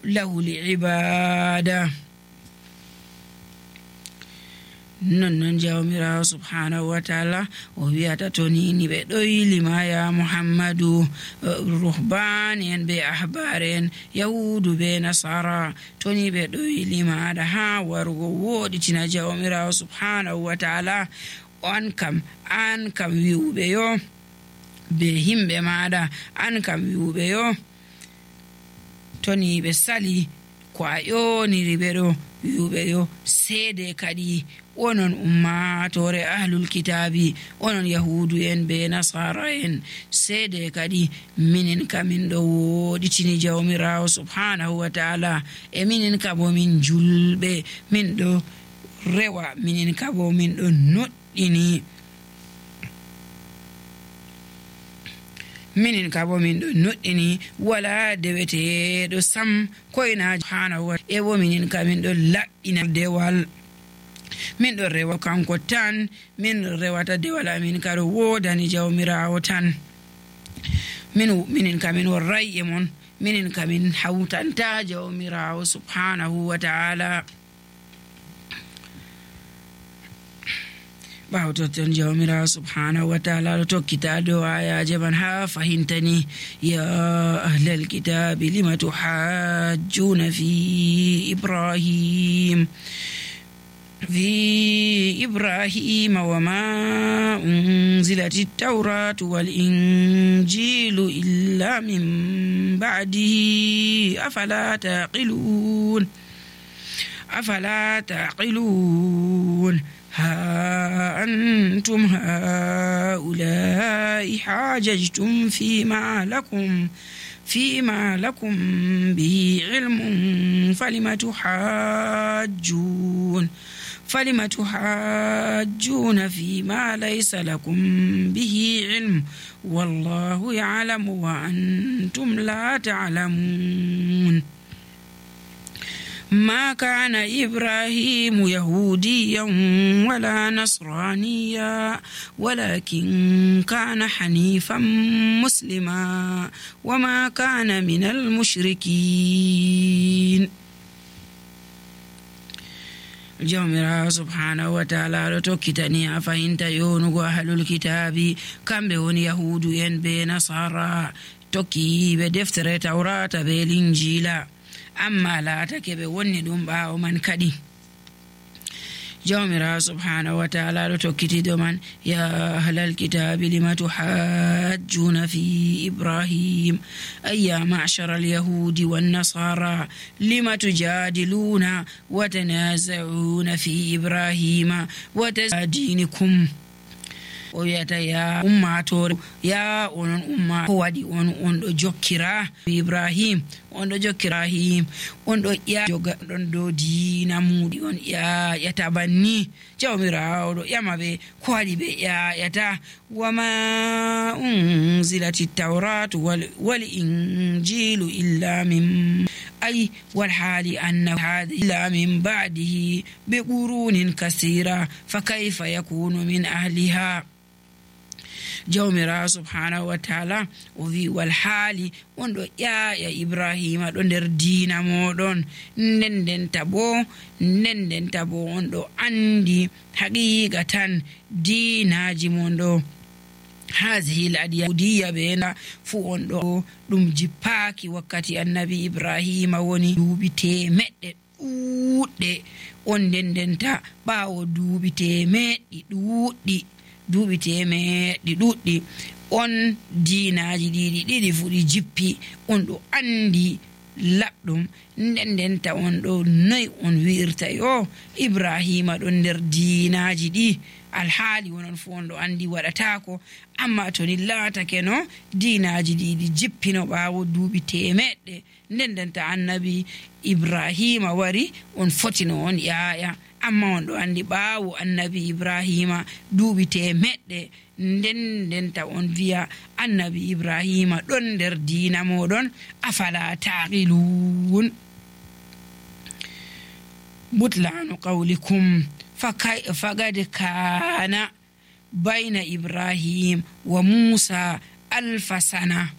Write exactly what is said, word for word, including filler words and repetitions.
lahul ibada. non non jawmirawo subhanahu wa ta'ala o wiyata to nini ɓe ɗoylima ya muhammadu ruhban en ɓe ahbar en yahudu ɓe nasara to ni ɓe ɗoylimaɗa ha warugo woɗitina jawmirawo subhanahu wa ta'ala an kam an kam wi'uɓe yo be himɓe maɗa an kam wi'uɓe yo to ni ɓe sali ko a ƴoniri ɓe ɗo wi'uɓe yo seede kadi onon ummatore ahlul kitabi onon yahudu en be nasara en seede kadi minin kamin ɗo woɗitini jawmirawo subhanahu wa ta'ala e minin kabo min julɓe min ɗo rewa minin kabo min ɗo noɗɗini minin kabo min ɗo noɗɗini wala deweteɗo sam koyna subhanahu wa e bo minin kamin ɗo laɓɓina dewal min ɗo rewa kanko tan min rewata dewal amin kado wodani jawmirawo tan min minin kamin warray e mon minin kamin hawtanta jawmirawo subhanahu wa ta'ala ɓawtoton jawmirawo subhanahu wa ta'ala ɗo tokkita dow ayaje man ha fahintani ya ahlal kitabi lima tuhajjuna fi ibrahim في إبراهيم وما أنزلت التوراة والإنجيل إلا من بعده أفلا تعقلون أفلا تعقلون ها أنتم هؤلاء حاججتم فيما لكم فيما لكم به علم فلم تحاجون فلم تحاجون فيما ليس لكم به علم والله يعلم وأنتم لا تعلمون ما كان إبراهيم يهوديا ولا نصرانيا ولكن كان حنيفا مسلما وما كان من المشركين jawmirawo subhanahu wa ta'ala ɗo tokkitani a fahinta yonugo ahlul kitabi kamɓe woni yahudu en be nasara tokkiɓe deftere tawrata be linjila amma laatake ɓe wonni ɗum ɓawo man kadi jawmirawo subhanahu wa ta'ala ɗo tokkitiɗo man ya ahlal kitabi lima tuhajjuna fi ibrahim ay ya ma'shara alyahudi wannasara lima tujadiluna wa tanaza'una fi ibrahima wa tadinikum o wiyata ya ummatore ya onon umma ko waɗi on on ɗo jokkira ibrahim on ɗo jokkira him on ɗo ƴa joga ɗon dow diina muɗi on ƴaƴata banni jawmirawo ɗo ƴama ɓe ko waɗi ɓe ƴaƴata wama unzilati tawratu wal injilu illa min ay wal hali anna hadi illa min ba'dihi bi qurunin kasira fa kayfa yakunu min ahliha jawmirawo subhanahu wa ta'ala o wi wal haali on ɗo ƴaƴa ibrahima ɗo nder diina moɗon nden nden tabo nden nden tabo on ɗo andi haqiqa tan diinaji mon ɗo hazihil adiyahudiya ɓena fu on ɗo ɗum jippaki wakkati annabi ibrahima woni duuɓi temeɗɗe ɗuuɗɗe on nden ndenta ɓawo duuɓi temeɗɗi ɗuuɗɗi duuɓi temeɗɗi ɗuɗɗi on diinaji ɗiɗi ɗiɗi fuɗi jippi on ɗo andi laɓɗum nden ndenta on ɗo noyi on wi'irta yo ibrahima ɗon nder diinaji ɗi alhaali wonon fu on ɗo andi waɗatako amma to ni laatake no diinaji ɗiɗi jippino ɓawo duuɓi temeɗɗe nden ndenta annabi ibrahima wari on fotino on ƴaƴa amma on ɗo andi ɓawo annabi ibrahima duuɓi temeɗɗe nden ndenta on wiya annabi ibrahima ɗon nder diina moɗon afala taqilun butlanu qawlikum faqad kana bayna ibrahim wa musa alfa sana